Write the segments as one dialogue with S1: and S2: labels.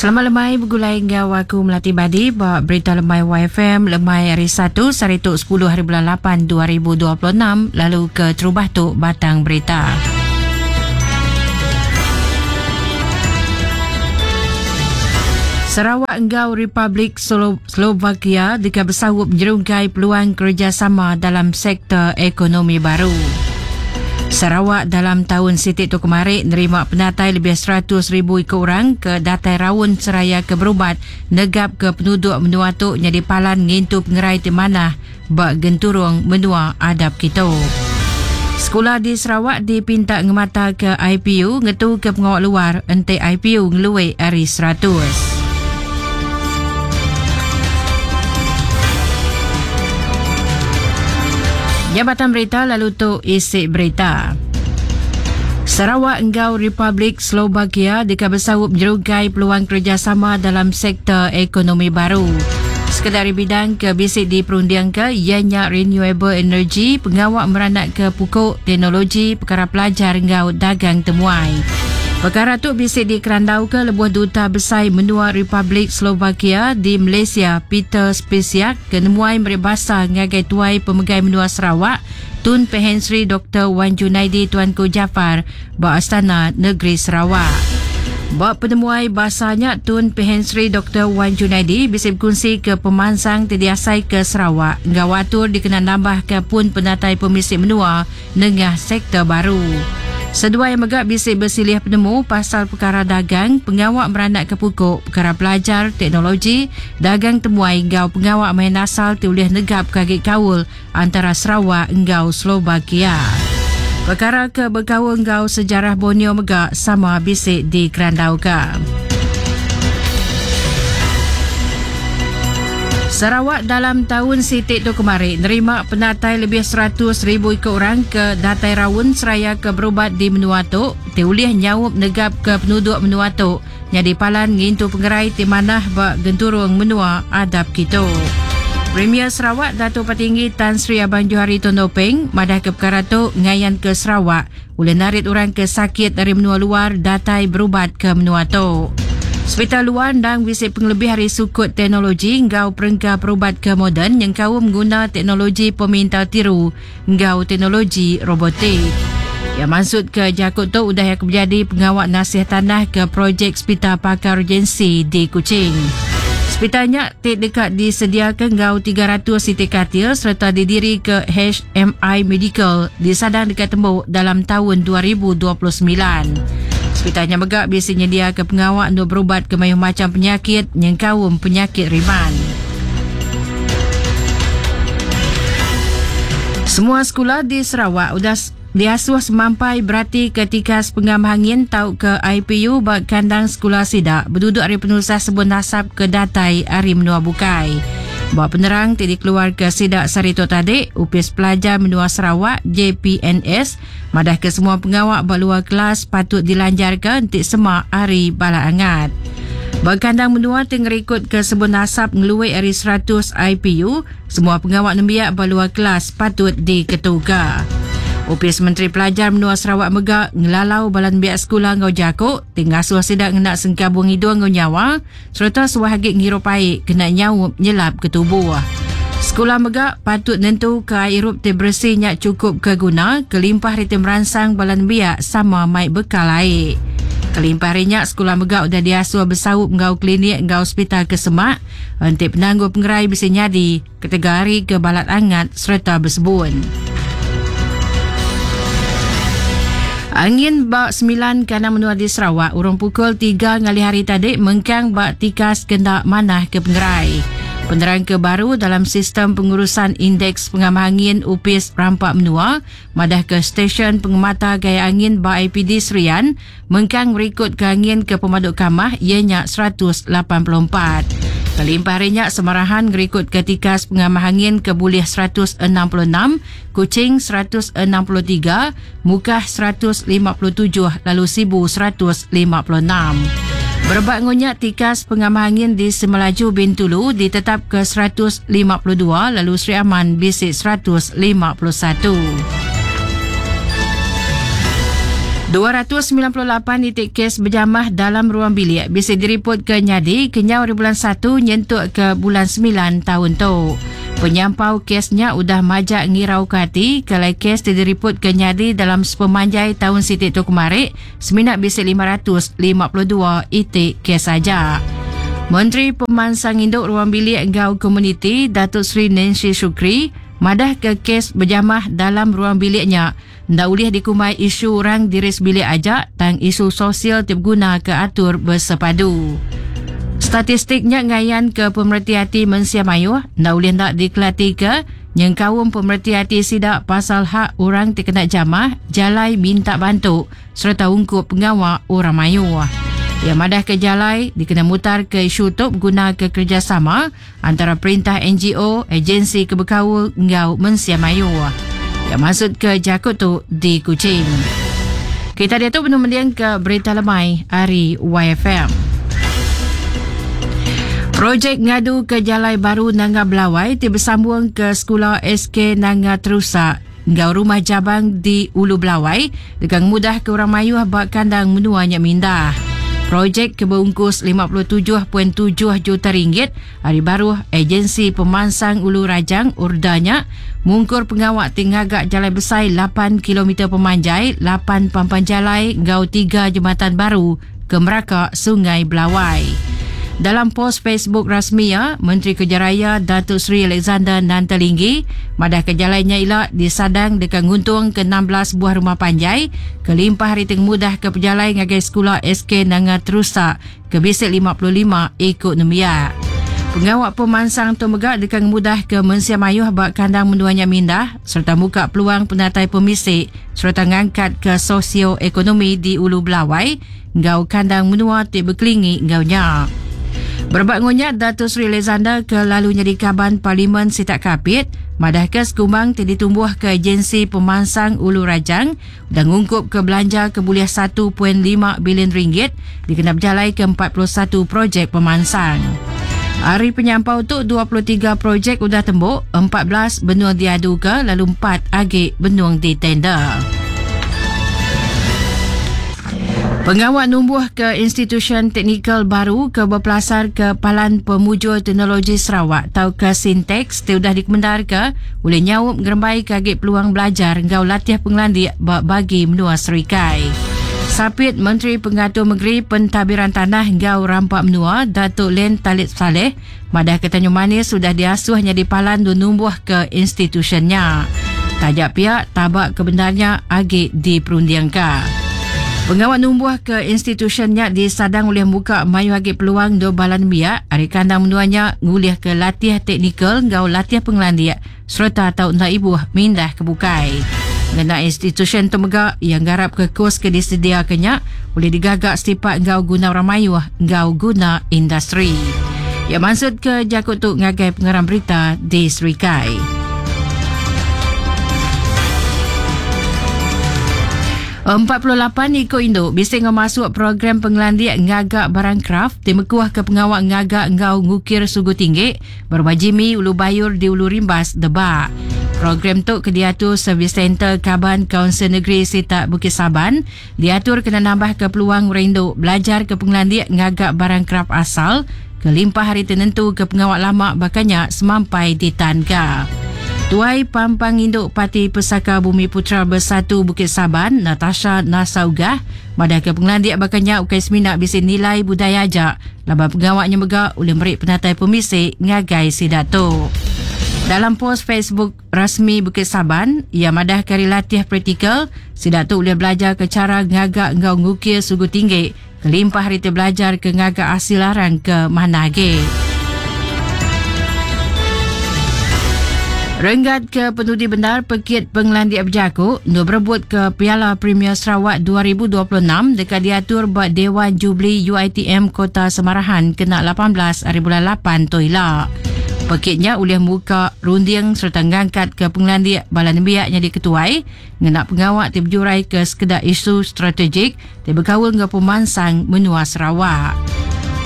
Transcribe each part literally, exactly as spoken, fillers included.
S1: Selamat lemai bergulai ngau aku Melati Badi ba berita lemai Y F M lemai hari Satu sehari tu sepuluh hari bulan lapan dua ribu dua puluh enam lalu ke terubah tu batang berita. Sarawak enggau Republik Slo- Slovakia deka bersaup menyerungkai peluang kerjasama dalam sektor ekonomi baru. Sarawak dalam tahun sitik tu kemarin nerima penatai lebih seratus ribu ikut orang ke datai raun seraya ke berubat negap ke penduduk menua tu jadi palan ngintu pengerai di mana bak genturung menua adab kita. Sekolah di Sarawak dipinta ngemata ke I P U ngetu ke pengawal luar ente I P U ngeluai hari seratus. Jabatan Berita lalu tu isi berita. Sarawak enggau Republik Slovakia deka bersaup menyerugai peluang kerjasama dalam sektor ekonomi baru. Sekedar bidang ke bisik di perundiang ke ianya renewable energy, pengawak meranak ke pukul teknologi, perkara pelajar enggau dagang temuai. Perkara tu bisik di Kerandau ke lebuh duta besar menua Republik Slovakia di Malaysia Peter Spesiak ke nemuai meribasa ngagai tuai pemegai menua Sarawak Tun Pehin Sri Doktor Wan Junaidi Tuanku Jaafar ba Astana Negeri Sarawak. Ba penemuai basanya Tun Pehin Sri Doktor Wan Junaidi bisa berkongsi ke pemansang terdiasai ke Sarawak ngau atur dikena nambah ke pun penatai pemisik menua nengah sektor baru. Sedua yang megak bisik bersilih penemu pasal perkara dagang, pengawak meranak ke pukul, perkara pelajar, teknologi, dagang temuai ngau pengawak main asal tiulih negap kagik kaul antara Sarawak ngau Slovakia. Perkara ke berkaul ngau sejarah Borneo megak sama bisik di Kerandauka. Sarawak dalam tahun sitik tu kemarin nerima penatai lebih seratus ribu ikut orang ke datai raun seraya ke berubat di menua tu tiulih nyaup negap ke penduduk menua tu jadi palan ngintu pengerai di manah ba genturung menua adab kita. Premier Sarawak Datuk Patinggi Tan Sri Abang Johari Tun Openg madah ke perkara tu ngayan ke Sarawak boleh narik orang ke sakit dari menua luar datai berubat ke menua tu. Hospital luar ndang bisik pengelebih hari sukut teknologi ngau perengka perubat ke moden yang kau mengguna teknologi peminta tiru ngau teknologi robotik. Yang maksud ke jakut tu udah yang menjadi pengawak nasih tanah ke projek Hospital Pakar Urgensi di Kuching. Hospitalnya tik dekat disediakan ngau tiga ratus siti katil serta didiri ke H M I Medical di Sadang dekat Tembok dalam tahun dua ribu dua puluh sembilan. Hospitalnya megak biasanya dia ke pengawak untuk berubat ke mayuh macam penyakit yang kaum penyakit riman. Semua sekolah di Sarawak sudah diasuh semampai berarti ketika sepengam hangin tau ke I P U bak kandang sekolah sidak berduduk hari penusah sebun nasab ke datai hari menua bukai. Buat penerang ti dikeluar ke sidak Sarito tadi, Upis Pelajar Menua Sarawak J P N S madah ke semua pengawak berluar kelas patut dilanjarkan untuk semak hari bala angat. Berkandang menua tenggerikut ke sebun asap ngeluai hari seratus I P U, semua pengawak nembiak berluar kelas patut diketuga. Upis Menteri Pelajar Menua Sarawak megak ngelalau balan biak sekolah ngau jakuk tinggal suah sidak ngenak sengkabung hidung ngau nyawa serta suah hagik ngirup air kena nyaup nyelap ke tubuh. Sekolah megak patut nentu ke air irup te bersih nyak cukup ke guna kelimpah ritem merangsang balan biak sama mai bekal air. Kelimpah rinyak sekolah megak udah diasuh bersaup ngau klinik ngau hospital ke semak entik penangguh pengerai bisa nyadi ketiga hari ke balat angat serta bersebun. Angin bak sembilan kanan menua di Sarawak urung pukul tiga ngali hari tadi mengkang bak tikas kendak manah ke pengerai. Penerang ke baru dalam sistem pengurusan indeks pengamah angin Upis Rampak Menua madah ke stesen pengemata gaya angin bak I P D Serian mengkang berikut ke angin ke pemaduk kamah ianya seratus lapan puluh empat. Kelimpah rinyak Semarahan ngerikut ke tikas pengamah angin ke Bulih seratus enam puluh enam, Kuching seratus enam puluh tiga, Mukah seratus lima puluh tujuh, lalu Sibu seratus lima puluh enam. Berebak ngonyak tikas pengamah angin di Semelaju Bintulu ditetap ke seratus lima puluh dua, lalu Sri Aman bisik seratus lima puluh satu. dua ratus sembilan puluh lapan titik kes berjamah dalam ruang bilik bisa diriput ke nyadi kenyau dari bulan satu nyentuk ke bulan sembilan tahun tu. Penyampau kesnya udah majak ngirau ke hati kalau kes diriput ke nyadi dalam sepemanjai tahun sitik tu kemarin semina bisa lima ratus lima puluh dua itik kes saja. Menteri Pemansang Induk Ruang Bilik Ngau Komuniti Datuk Seri Nancy Shukri madah ke kes berjamah dalam ruang biliknya ndak boleh dikumai isu orang diri sebilik aja tang isu sosial ti berguna ke atur bersepadu. Statistiknya ngayan ke pemerhati hati mensia mayuh ndak boleh ndak dikelati ke nyengkaum pemerhati hati sidak pasal hak orang ti kena jamah jalai minta bantu serta ungkup pengawal orang mayuh. Yang madah ke jalai dikena mutar ke isu tu guna ke kerjasama antara perintah N G O, agensi kebekaul ngau mensia mayuh. Yang maksud ke jakut tu di Kuching. Kita dia tu penuh mendiang ke Berita Lemai hari Y F M. Projek ngadu ke jalai baru Nanga Belawai ti bersambung ke sekolah S K Nanga Terusak ngau rumah jabang di Ulu Belawai dengan mudah ke orang mayuh bak kandang menuanya mindah. Projek keberungkus lima puluh tujuh perpuluhan tujuh juta ringgit hari baru agensi pemansang Ulu Rajang urdanya mungkur pengawak tingagak jalai besar lapan kilometer pemanjai, lapan pampan jalai ngau tiga jembatan baru ke meraka Sungai Belawai. Dalam pos Facebook rasmi ya, Menteri Kerja Raya Datuk Seri Alexander Nanta Linggi madah ke jalannya ilak disadang dekat nguntung ke enam belas buah rumah panjai kelimpah hari tengah mudah ke pejalai ngagai sekolah S K Nanga Terusak ke bisik lima puluh lima ikut nembiak. Pengawak pemansang tu megak dekat mudah ke mensia mayuh bak kandang menduanya mindah serta muka peluang penatai pemisik serta ngangkat ke sosioekonomi di Ulu Belawai ngau kandang menua ti berkelingi ngaunya. Berbak ngonyak Datuk Seri Alexander ke lalu nyadi kaban Parlimen Sitak Kapit madah ke sekumbang ti ditumbuh ke agensi pemansang Ulu Rajang dan ngungkup ke belanja ke buliah satu perpuluhan lima bilion ringgit dikena berjalai ke empat puluh satu projek pemansang. Hari penyampau tu dua puluh tiga projek udah tembuk, empat belas benua diadu ke lalu empat agi benua ditender. Pengawal numbuh ke institusi teknikal baru ke berpelasar ke Palan Pemujur Teknologi Sarawak atau ke Sintex ti udah dikemendar ke oleh nyaup ngerembai ke agi peluang belajar ngau latih pengelandik bagi menua Serikai. Sapit Menteri Pengatur Negeri Pentadbiran Tanah ngau Rampak Menua Datuk Len Talib Saleh madah ke Tanjung Manis sudah diasuhnya di Palan numbuh ke institusinya. Tajak pihak tabak kebenarnya agi diperundingkan. Pengawal numbuh ke institusinya disadang oleh muka mayu agi peluang do balan biak hari kandang menuanya ngulih ke latih teknikal ngau latih pengelandiak serta tau nak ibu mindah ke bukai. Ngena institusi tu mega yang garap ke kos ke disediakannya boleh digagak setipak ngau guna orang mayuh ngau guna industri. Yang maksud ke jakut tu ngagai pengarang berita di Serikai. empat puluh lapan ikut induk bisa ngau masuk program pengelandiak ngagak barang craft timekuah ke pengawak ngagak ngau ngukir sugu tinggi berbajimi Ulu Bayur di Ulu Rimbas Debak. Program tu kediatur Service Center Kaban Kaunsil Negeri Sitak Bukit Saban diatur kena nambah ke peluang rindu belajar ke pengelandiak ngagak barang craft asal kelimpah hari tenentu ke pengawak lama bakanya semampai di Tanka. Tuai Pampang Induk Parti Pesaka Bumi Putra Bersatu Bukit Saban, Natasha Nasaugah, madah ke pengelandiak bakanya ukai seminak bisi nilai budaya ajak, laban pengawaknya mega oleh merik penatai pemisik ngagai sidato. Dalam pos Facebook rasmi Bukit Saban, ia madah kari latih praktikal, sidato boleh belajar ke cara ngagak ngau ngukir sugu tinggi, kelimpah hari belajar ke ngagak hasil larang ke mana ge. Renggat ke penudi benar Pekit Pengelandiak Berjakuk nur berebut ke Piala Premier Sarawak dua ribu dua puluh enam dekat diatur buat Dewan Jubli U I T M Kota Semarahan kena lapan belas hari bulan lapan toila. Pekitnya oleh muka runding serta ngangkat ke pengelandiak bala nembiak jadi ketuai ngena pengawak ti berjurai ke sekedar isu strategik ti berkaul dengan pemansang menua Sarawak.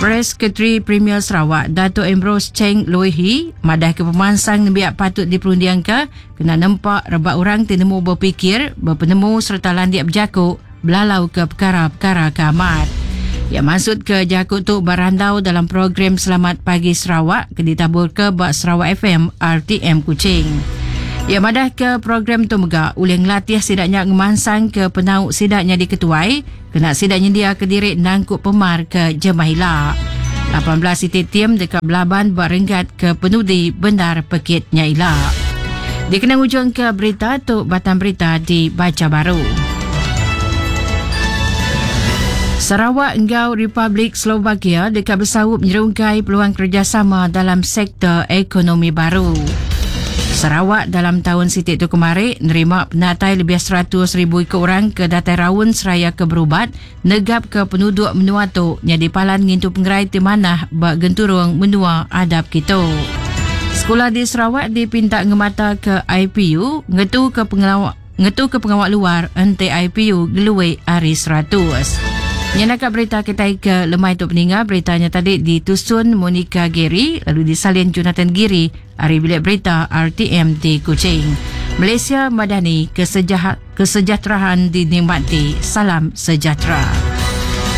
S1: Press Sekretari Premier Sarawak Dato' Ambrose Cheng Loihi madah ke pemansang nembiak patut diperundiang ke kena nempak rebak orang ti nemu berfikir, berpenemu serta landiak berjakuk belalau ke perkara-perkara ke amat. Ya maksud ke jaku tu berandau dalam program Selamat Pagi Sarawak ke ditabur ke bak Sarawak F M R T M Kuching. Ya madah ke program tu mega ulih ngelatih sidaknya ngemansang ke penau sidaknya diketuai kena sidaknya dia ke diri nangkup pemar ke Jemahila. lapan belas itik tim dekat belaban berenggat ke penudi benar pekit nyaila. Dikenang ujung ke berita tu batang berita dibaca baru. Sarawak enggau Republik Slovakia dekat bersaup menyerungkai peluang kerjasama dalam sektor ekonomi baru. Sarawak dalam tahun sitik tu kemarin nerima penatai lebih seratus ribu ikut orang ke datai raun seraya ke berubat negap ke penduduk menua tu nyadi palan ngintu pengerai ti manah bak genturung menua adap kita. Sekolah di Sarawak dipinta ngemata ke I P U ngetu ke pengawak ngetu ke pengawak luar ente I P U geluwe hari seratus. Nyenaka berita kita ke lemai tu peninga beritanya tadi ditusun Monica Gary lalu disalin Jonathan Giri hari bilik berita R T M di Kuching. Malaysia Madani kesejahat, kesejahteraan dinikmati. Salam sejahtera.